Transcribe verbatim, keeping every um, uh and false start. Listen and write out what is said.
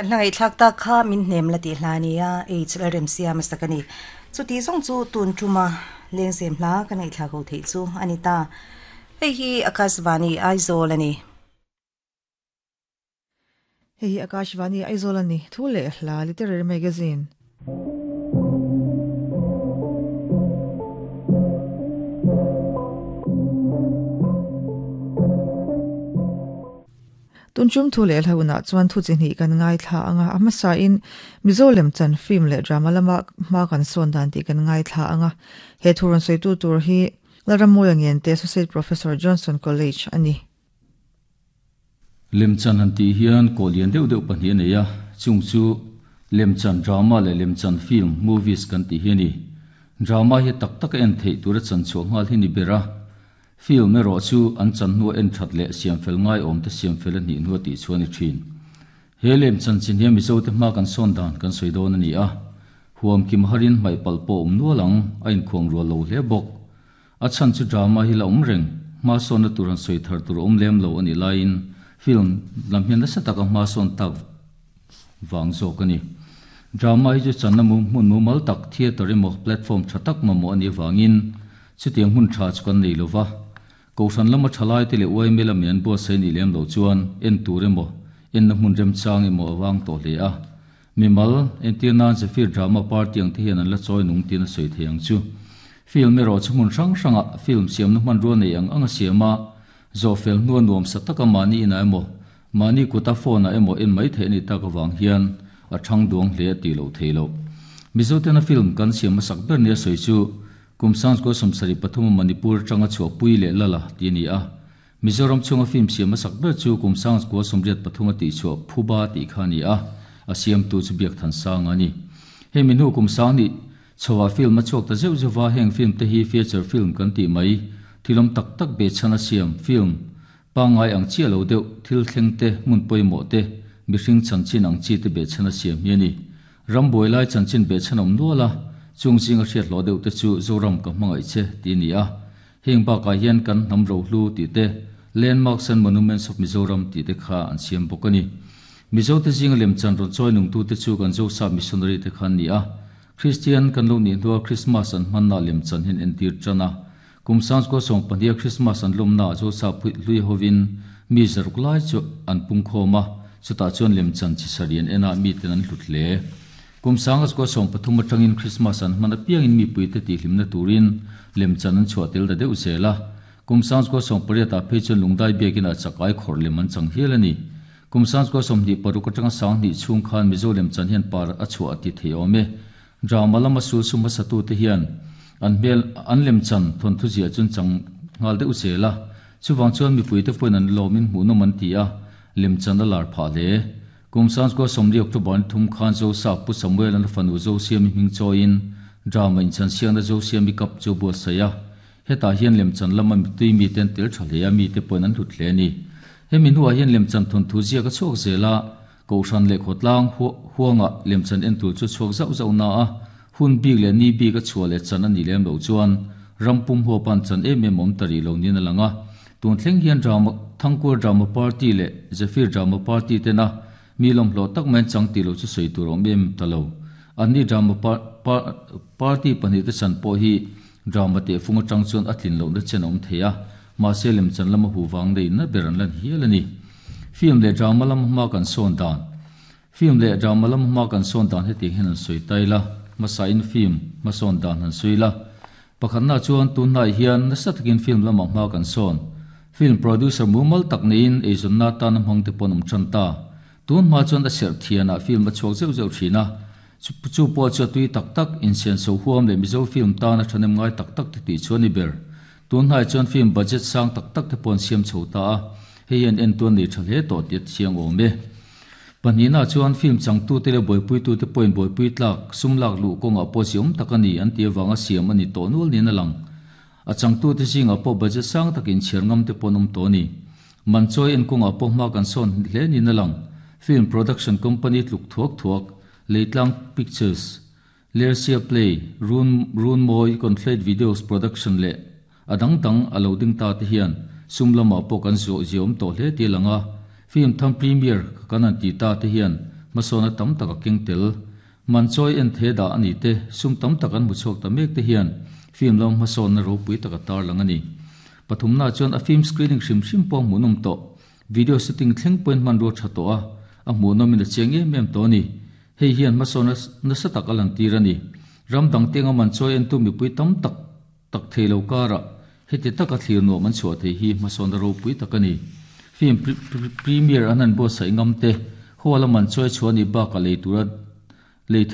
Kan hla thlak ta kha min hnem la ti hla nia H la rem siam sakani chu ti zong chu tun thuma lengzem hla kan nei thla ko thei chu anita hei hi Akashvani Aizawl ani. Hei hi Akashvani Aizawl ani thu le hla literary magazine. Tunchum thu le hlauna chuan thu chi ni kan ngai thla anga amasa in Mizolem chan film le drama lama ma kan son dan ti kan ngai thla anga he thurun sei tu tur hi Laramoyang te Associate Professor Johnson College ani. Lemchan han ti hian kolian deuh deuh pahnih nei a chung chu lemchan drama le lemchan film movies kan ti hi ni. Drama hi tak tak en thei tura chan chu ngal hi ni bera. Film ero chu an chan nu en that le siam fel ngai om te siam fel ni nu ti chuan ni thin. He lemchan chin hian mizo te ma kan son dan kan soi don ani a. Huam kim harin mai palpo um nualang a in khong ro lo hle bok. A chan chu drama hi la um reng ma son na turan soi thar tur um lem lo ani lain film lam hian nasa taka ma son tak wang zo kani. Drama hi chu chan na mu mun mu mal tak theater emaw platform tha tak ma mo ani wangin chutiang hun tha chu kan nei lova. Ko san lama thalai te le oi mela mian bo sei ni lem lo chuan en tur emaw en na hmun rem chang emaw awang to hle a. Mimal en tir nan zephyr drama party ang te hian an la chawi nung tin a sawi thei ang chu. Film ero chu hmun hrang hranga film siam na hman rual nei ang anga siama zo fel nuan nuam sa taka mani ina emaw mani kuta phone a emaw en mai thei ni tak awang hian a thang duang hle ti lo thei lo. Mizo tena film kan siam a sak ber nia sawi chu kumsang ko somsari pathum Manipur tanga chu pui le lala ti ni a. Mizoram chunga film siam a sak ber chu kumsang ko somriat pathum ti chu phuba ti kha ni a. A siam tu chu biak than sang ani. He minu kumsang ni chawa film a chok ta zeu zewa heng film te hi feature film kan ti mai thilom tak tak be chana siam film pangai ang chi lo deuh thil thleng te mun poimo te mihring chanchin ang chi te be chana siam hi ani. Ramboi lai chanchin be chanom nuala chung jing a hriat lo deuh te chu Zoram ka hmangai che ti ni a. Heng ba ka hian kan hnam ro hlu ti te landmarks and monuments of Mizoram ti te kha an siam bawk ani. Mizo te jing lem chan ron choi nung tu te chu kan zo sa missionary te khan ni a. Christian kan lo ni hnuah Christmas an hmanna lem chan hin entir chana. Kumsang ko song pahnih Christmas an lawmna zo sa pui hlui hovin mi zaruk lai chu an pung khawma chutah chuan lem chan chi sarian ena mi ten an hlut hle. Kumsang ko song pathum atangin Christmas an hman apiangin mi pui te ti hlimna turin lem chan an chhuah tel ta deuh zela. Kumsang ko song pariat ah phei chuan lungdai biakin a chakai khawr lem an chang hial ani. Kumsang ko sawmhnih paruk atanga sanghnih chhung khan Mizo lem chan hian par a chhuah ti thei awm e. Drama lama sul suma satu te hian an hmel an lem chan thon thu zia chun chang ngal deuh zela. Chuwang chuan mipui te pawhin an lawmin hmuhnawm an ti a lem chan a lar phah hle. Kumsang ko sawmli October ni thum khan zo sa pu Samuel an fanu zo siami hming chawiin drama in chan siangna zo siami kap chu buat saia. Hetah hian lem chan lama tui mi ten tel tha hle a mi te pawhin an hlut hle ani. Hemi hnuah hian lem chan thon thu zia ka chhuak zela ko san le khotlang huanga lem chan en tur chu chhuak zauh zauh na a. Hun bik le ni bik a chhuah le chan ani lem lo chuan rampum huwa pan chan em em awm tari lo nin a lang a. Tun thleng hian drama Thangkur drama party le Zephyr drama party tena mi lawm hlawh tak mai chang ti lo chu sawi tur awm em ta lo. Anni drama party pahnih te chan pawh hi drama te fung atang chuan a tlin lohna chen awm thei a. Mahse lem chan lama hu wang nei na ber an lan hial ani. Film le drama lama hma kan sawn dan. Film le drama lama hma kan sawn dan heti hian an sawi tai la. Masa in film ma sawn dan han sawi la. Pakhatna chuan tunhnai hian nasa takin film lama hma kan sawn. Film producer mumal tak niin eizawnna tan a hmang te pawn awm tan ta. Tun hma chuan a serh thianah film a chhuak zeuh zeuh thin a. Chu pawh chu a tui tak tak insian so huam le Mizo film tan a thanem ngai tak tak te tih chuan ni ber. Tunhnai chuan film budget sang tak tak te pawn siam chho ta a. Hei hian en tuan nei tha hle tawh ti a thiang awm e. Pahnihna chuan film changtu te le buaipuitu te pawhin buaipui tlak sum lak luh kawngah pawh chi awm tak ani an ti awanga siam ani tawh nual nin a lang. A changtu te zingah pawh budget sang takin chhiar ngam te pawn awm tawh ani. Man chawi en kawngah pawh hma kan sawn hle nin a lang. Film production company tluk thuak thuak Leitlang Pictures, Lersia Play, Run Run Moi Conflate Videos Production le adang dang a lo ding ta te hian sum lama pawh kan zawh ziawm tawh hle ti langa. Film tham premier kan an ti ta te hian Masona tam taka keng tel. Man choi en the da ani te sum tam tak an mu chok ta mek te hian film lam mason na ropui taka tar lang ani. Pathum na chuan a film screening hrim hrim pawh hmuhnawm tawh. Video shooting thleng point man ro tha to a a hmuhnawm in a chiang em em to ni. Hei hian mason nasa tak a lan tir ani. Ram dang tenga man choi en tu mipui tam tak tak theilo kara heti taka thlir nuam an chhuah thei hi mason na ropui tak ani. Film premiere an han bo sai ngam te huala man choi chuani ba ka lei tura lei